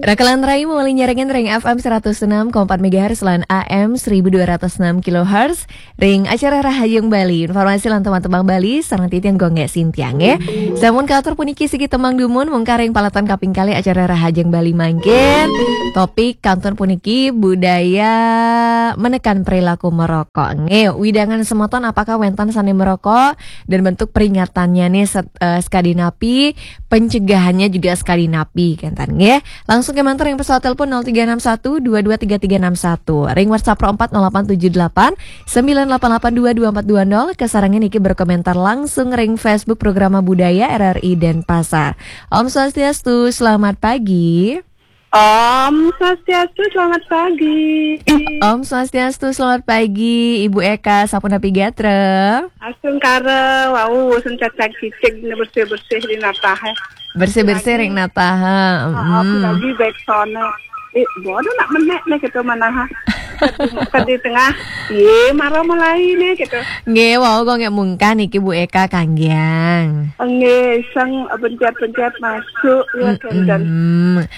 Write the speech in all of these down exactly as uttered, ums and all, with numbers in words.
Rakalan rai mawali nyarengin ring F M seratus enam koma empat megahertz lan A M seribu dua ratus enam kilohertz ring acara Rahajeng Bali. Informasi lan teman-teman Bali sareng titiang Gung Gek Sintiang, nggih. Sampun katur puniki siki tembang dumun mungkar ring paletan kaping kalih acara Rahajeng Bali mangkin. Topik kantun puniki budaya menekan perilaku merokok. Nggih, wewidangan semeton apakah wenten sane merokok dan bentuk peringatannya nih set- eh, sekadi napi, pencegahannya juga sekadi napi, kenten nggih. Langsung kemanten ring pesawat telepon nol tiga enam satu dua dua tiga tiga enam satu. Ring WhatsApp nol empat nol delapan tujuh delapan sembilan delapan delapan dua dua empat dua nol. Kasarengin niki berkomentar langsung ring Facebook Programa Budaya R R I Denpasar. Om Swastiastu, selamat pagi. Om Swastiastu, selamat pagi. Om Swastiastu, selamat pagi, Ibu Eka, sapunapi gatra? Astungkara, wau, sun cacag cicig, bersih-bersih di nataha. Bersih-bersih ring nataha. Heeh, hmm. Lagi baik sono. Eh, bodoh nak menek nih gitu manaha. Tadi, tadi tengah, ye, marah mulai nih gitu. Nggih, wau kok nggak mungkin niki Bu Eka kanggiang. Nggih, sang pencet-pencet masuk, ya, kenten.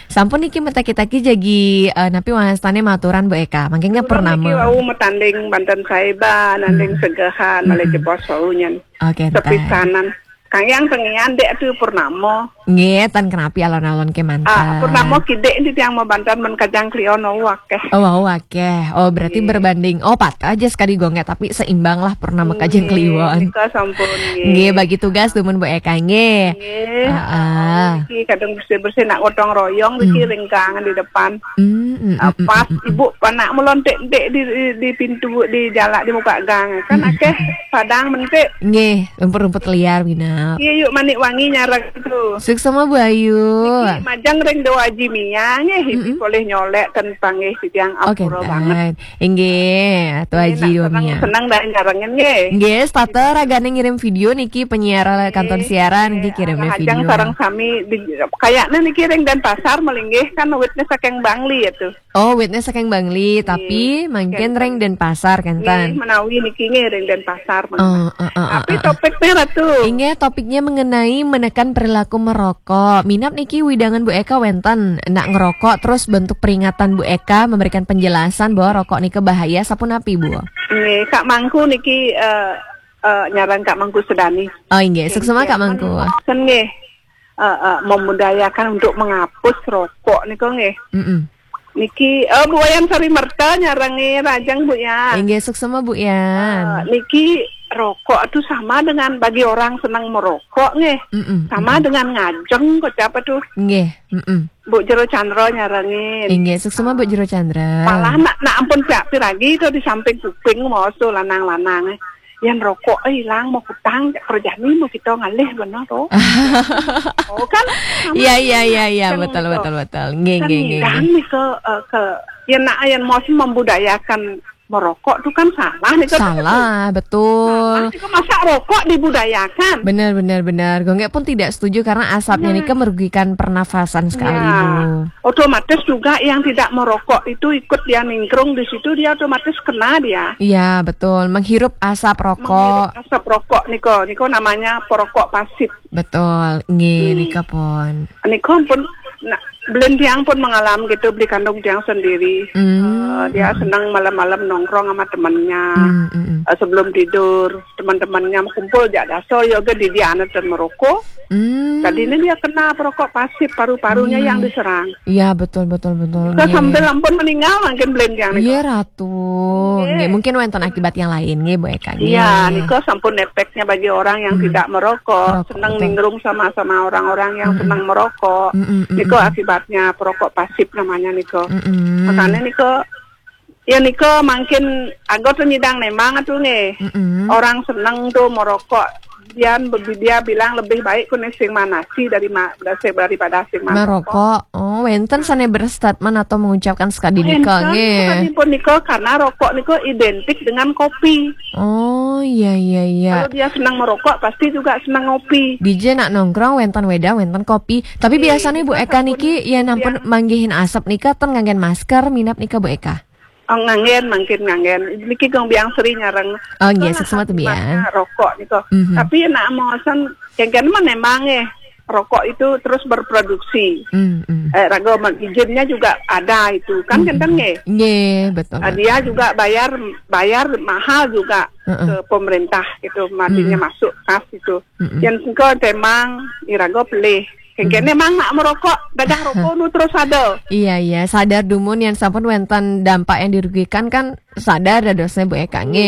Sampun niki mataki-taki jagi, eh, napi wastane maturan Bu Eka. Mangkin nggih purnama. Niki wau matanding banten saeba, nanding segehan, malih jebos wau nyen. Oke, entar. Sepisanan. Kang Yang tengian dek tu purnama. Nggih, tan kenapi alon-alon kemanten. Ah, purnama kidik enti tiang mabanten men Kajang Kliwon wau akeh. Oh, wau akeh. Oh, berarti berbanding. Oh, patah aja sekali gonge, tapi seimbang lah purnama Kajang Kliwon. Nika sampun, nggih. Nggih, bagi tugas dumun Bu Eka, nggih. Nggih. Heeh. Iki kadang bersih-bersih nak gotong royong iki ringkang di depan. Hmm, hmm, hmm, pas hmm, hmm. Ibu panak melontek-tek di, di, di pintu, di jalak, di muka gang. Kan akeh padang mentik. Nggih, rumput-rumput liar, Bina. Iya, yuk, manik wangi nyarang itu. Suksma, Bu Ayu. Niki majeng ring Doa Jimia, nggih, ibu boleh nyolek tentang, nggih, sitiang. Oh, apura banget. Inggih, Atu Aji Domia. Seneng dah nyarengin, nggih. Nggih, setata ragane ngirim video niki penyiar kantun siaran niki kirim video. Sareng sami di, kayaknya niki ring Denpasar malinggih kan witness saking Bangli ya tuh. Oh, witness saking Bangli, tapi mangkin ring Denpasar kenten. Nggih, menawi niki nggih ring Denpasar. Oh, oh, oh, tapi topiknya Ratu. Inggih, topiknya mengenai menekan perilaku merokok. Minab niki wewidangan Bu Eka wenten nak ngerokok, terus bentuk peringatan Bu Eka memberikan penjelasan bahwa rokok nika bahaya, sapunapi, Bu? Nggih, Kak Mangku niki, eh, eh, nyarang Kak Mangku Sedani. Oh, inggih, suksma Kak Mangku. Nggih, eh, eh, memudayakan untuk menghapus rokok nika nggih. Mm-mm. Niki, eh, Bu Wayan Sari Merta nyarengi rajang, Bu Yan. Inggih, suksma, Bu Yan. Eh, niki rokok itu sama dengan bagi orang senang merokok nggih. Mm-mm, sama dengan ngajeng kok apa tuh? Nggih, mm-mm. Bu Jero Chandra nyarengin. Inggih, suksma Bu Jero Chandra. Malah nak, nak ampun pihak piragi itu di samping kuping mau tuh lanang-lanang. Yang rokok eh, hilang mau kutang, kerjaan ini mau kita ngalih benar tuh. Oh kan? Iya, iya, iya, iya, betul, betul, betul. Nggih, nggih, nggih. Kan ke, eh, ke, ya nak yang mau membudayakan merokok tuh kan salah nih kan. Salah, betul. Salah, itu masa rokok dibudayakan? Benar, benar, benar. Gung Gek pun tidak setuju karena asapnya nih kan merugikan pernafasan sekali, Bu. Otomatis juga yang tidak merokok itu ikut dia ningkrung di situ, dia otomatis kena dia. Iya, betul. Menghirup asap rokok. Menghirup asap rokok niko, niko namanya perokok pasif. Betul, nggih, nika pun. Nika pun, nah, belen tiang pun mengalami gitu, beli kandung tiang sendiri. Eh, dia senang malam-malam nongkrong sama temannya. Eh, sebelum tidur, teman-temannya kumpul jak daso, yoga di dia anak dan merokok. Tadi ini dia kena perokok pasif, paru-parunya yang diserang. Iya, betul, betul, betul. Sambil ampun meninggal mungkin belen tiang nika. Iya, Ratu. Nggih, mungkin wonten akibat yang lain, nggih, Bu Eka, nggih. Iya, nika sampun efeknya bagi orang yang tidak merokok, senang ningkrung sama-sama orang-orang yang senang merokok. Nika akibatnya perokok pasif namanya nika. Makanya nika, ya nika mungkin anggota nyidang nemang tuh nggih. Orang senang tuh merokok. Dia, dia bilang lebih baik kuning sing manasi dari ma-, daripada sing merokok. Oh, wenten sane berstatement atau mengucapkan sekadi nika, nggih. Wenten, sekadi pun nika, karena rokok nika identik dengan kopi. Oh, iya, iya, iya. Kalau dia senang merokok, pasti juga senang ngopi. Dija nak nongkrong, wenten wedang, wenten kopi. Tapi biasanya Bu Eka niki, ya nampun manggihin asap nika, ten nganggen masker, minab nika Bu Eka? Oh, nganggen, mangkin nganggen. Niki Gung Biang Sri nyareng. Oh, nggih, suksma tuh, Biang. Rokok nika. Tapi nak mau sen, kengken mah nemang nggih. rokok itu terus berproduksi. Hmm, hmm. Eh, raga men- izinnya juga ada itu. Kan Hmm. kenten nggih. Nggih, betul. Ah, dia juga bayar bayar mahal juga Heeh. ke pemerintah gitu, artinya Mm-mm. masuk kas itu. Mm-mm. Yang engko temang iraga pelih. Kengkene mang nak merokok, dadah rokok nu terus ada. Iya, iya, sadar dumun yang sampun wenten dampak yang dirugikan kan sadar dadosnya Bu Eka nggih.